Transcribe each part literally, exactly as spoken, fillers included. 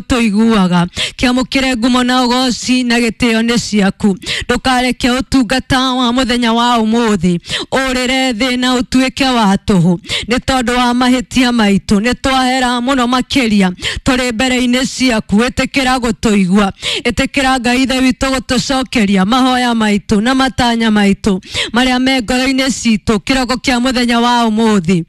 Tũiguaga kĩamũkĩre ngumo na ũgoci na gĩtĩo nĩ ciaku. Ndũkareke ũtungata wa mũthenya wa ũmũthĩ ũrĩre thĩ na ũtuĩke wa tũhũ nĩ tondũ wa mahĩtia maitũ. Nĩ twahera mũno makĩria tũrĩ mbere-inĩ ciaku. Ĩtĩkĩra gũtũigua, ĩtĩkĩra Ngai Ithe witũ gũtũcokeria mahoya maitũ na matanya maitũ marĩa me ngoro-inĩ citũ kĩroko kĩa mũthenya wa ũmũthĩ.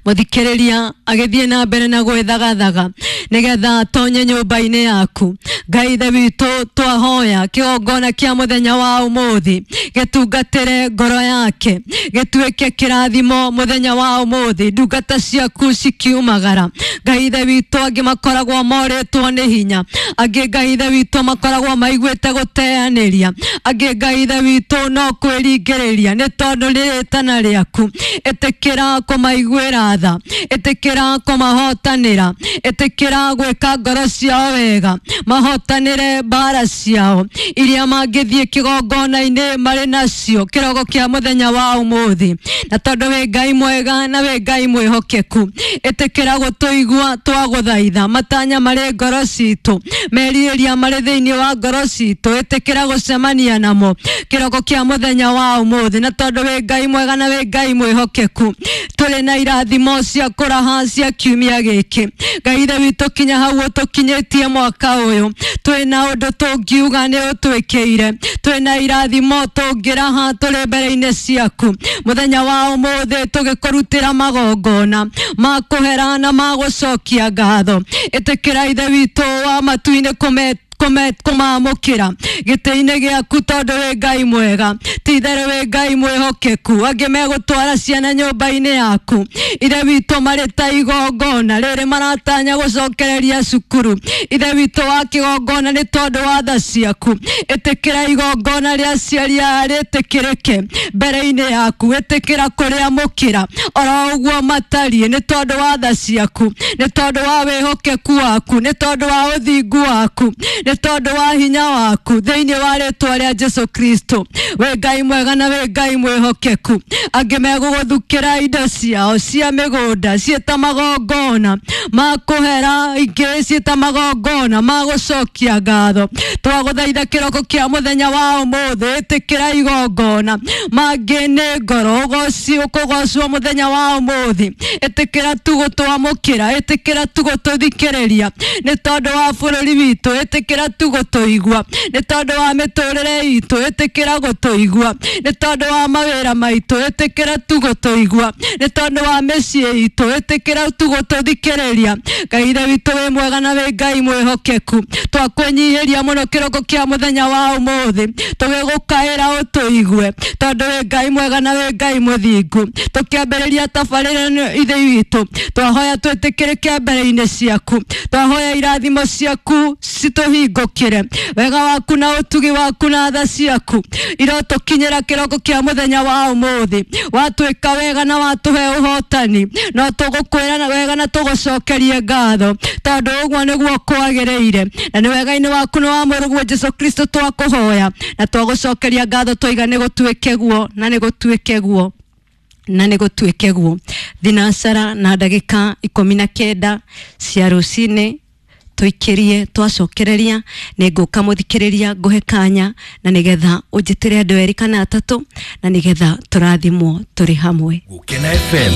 Mũthikĩrĩria agĩthiĩ na mbere na gwĩthagathaga nĩgetha atonye nyũmba-inĩ yaku. Ngai Ithe witũ, twahoya kĩgongona kĩa mũthenya wa ũmũthĩ gĩtungatĩre ngoro yake, gĩtuĩke kĩrathimo mũthenya wa ũmũthĩ. Ndungata ciaku cikiumagara, Ngai Ithe witũ, angĩ makoragwo morĩtwo nĩ hinya, angĩ, Ngai Ithe witũ, makoragwo maiguĩte gũteanĩria, angĩ, Ngai Ithe witũ, no kwĩringĩrĩria nĩ tondũ nĩ rĩtana rĩaku. Ĩtĩkĩra kũmaiguĩra tha, ĩtĩkĩra kũmahotanĩra, ĩtĩkĩra gwĩka ngoro ciao wega, mahotanĩre mbara ciao iria mangĩthiĩ kĩgongona-inĩ marĩ nacio kĩroko kĩa mũthenya wa ũmũthĩ. Na tondũ wĩ Ngai mwega na wĩ Ngai mwĩhokeku, ĩtĩkĩra gũtũigua twagũthaitha matanya marĩ ngoro citũ, merirĩria marĩ thĩinĩ wa ngoro citũ, ĩtĩkĩra gũcemania namo kĩroko kĩa mũthenya wa ũmũthĩ. Na tondũ wĩ Ngai mwega na wĩ Ngai mwĩhokeku, tũrĩ na irathimo cia kũraha cia kiumia gĩkĩ. Ngai Ithe witũ, kinya hau ũtũkinyĩtie mwaka ũyũ, twĩna ũndũ tũngiuga nĩ ũtwĩkĩire, twĩna irathimo tũngĩraha tũrĩ mbere-inĩ ciaku mũthenya wa ũmũthĩ, tũgĩkũrutĩra magongona ma kũhera na ma gũcokia ngatho. Ĩtĩkĩra Ithe witũ wa matu-inĩ kũme kũmamũkĩra gĩtĩ-inĩ gĩaku tondũ wĩ Ngai mwega, ti itherũ wĩ Ngai mwĩhokeku. Angĩ megũtwara ciana nyũmba-inĩ yaku, Ithe witũ, marĩ ta igongona rĩrĩ maratanya gũcokereria cukuru, Ithe witũ wa kĩgongona, nĩ tondũ wa tha ciaku. Ĩtĩkĩra igongona rĩa aciari aya rĩtĩkĩrĩke mbere-inĩ yaku, ĩtĩkĩra kũrĩamũkĩra oro ũguo matariĩ nĩ tondũ wa tha ciaku, nĩ tondũ wa wĩhokeku waku, nĩ tondũ wa ũthingu waku, nĩ tondũ wa hinya waku, thĩinĩ wa rĩtwa rĩa Jesu Kristo. Wĩ Ngai mwega na wĩ Ngai mwĩhokeku. Angĩ megũgũthukĩra indo ciao cia mĩgũnda ciĩta magongona ma kũhera, ingĩ ciĩta magongona ma gũcokia ngatho. Twagũthaitha kĩroko kĩa mũthenya wa ũmũthĩ, ĩtĩkĩra igongona. Mangĩ nĩ ngoro ũgoci ũkũgocwo mũthenya wa ũmũthĩ, ĩtĩkĩra tu gũtwamũkĩra, ĩtĩkĩra tu gũtũthikĩrĩria nĩ tondũ wa bũrũri witũ, ĩtĩkĩra tu gũtũigua nĩ tondũ wa mĩtũrĩre itũ, ĩtĩkĩra gũtũigua nĩ tondũ wa mawĩra maitũ, ĩtĩkĩra tu gũtũigua nĩ tondũ wa mĩciĩ itũ, ĩtĩkĩra tu gũtũthikĩrĩria. Ngai Ithe witũ, wĩ mwega na wĩ Ngai mwĩhokeku. Twakwĩnyihĩria mũno kĩroko kĩa mũthenya wa ũmũthĩ tũgĩgũkaĩra ũtũigue tondũ wĩ Ngai mwega na wĩ Ngai mũthingu. Tũkĩambĩrĩria tabarĩra ĩno, Ithe witũ, twahoya twĩtĩkĩrĩke mbere-inĩ ciaku, twahoya irathimo ciaku citũhingũkĩre, wega waku na ũtugi waku na tha ciaku irotũkinyĩra kĩroko kĩa mũthenya wa ũmũthĩ. Watwĩka wega na watũhe ũhotani, no tũgũkwĩra na wega na tũgũcokerie ngatho tondũ ũguo nĩguo kwagĩrĩire, na nĩ wega-inĩ waku na wa mũrũguo Jesu Kristo twakũhoya na twagũcokeria ngatho, twaiga nĩ gũtuĩke guo na nĩ gũtuĩke guo na nĩ gũtuĩke guo. Thinacara na ndagĩka ikũmi na kenda cia rũcinĩ tũikĩrie, twacokereria nĩ ngũka mũthikĩrĩria ngũhe kanya na nĩgetha ũnjĩtĩre andũ erĩ kana atatũ na nĩgetha tũrathimwo tũrĩ hamwe. Gukena F M.